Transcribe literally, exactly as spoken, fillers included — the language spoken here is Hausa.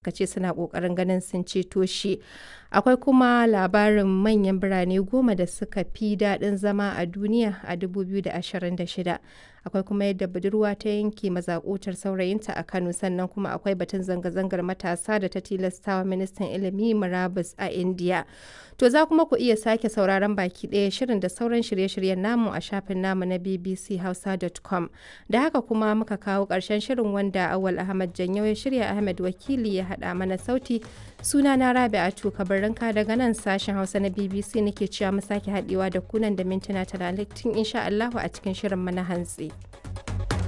Suka ce suna ƙoƙarin ganin sun ceto shi. Akwai kuma labarin manyan birane goma da suka fi daɗin zama a duniya a dubu biyu da ashirin da shida. Akwai kuma yadda budurwa ta yanke mazakutar saurayinta a Kano, sannan kuma akwai batun zanga-zangar matasa da ta tilastawa ministan ilimi murabus a Indiya. To, za kuma ku iya sake sauraron baki ɗaya shirin da sauran shirye-shiryen namu a shafin namu na B B C Hausa dot com. Da haka kuma muka kawo ƙarshen shirin, wanda Awal Ahmad Janyo ya shirya, Ahmed Wakili ya haɗa mana sauti. Suna na Rabi'atu Kabarinka daga nan sashen Hausa na B B C nake cewa mu sake haɗewa da kunan da mintuna talatin insha Allahu a cikin shirin mana hantsi.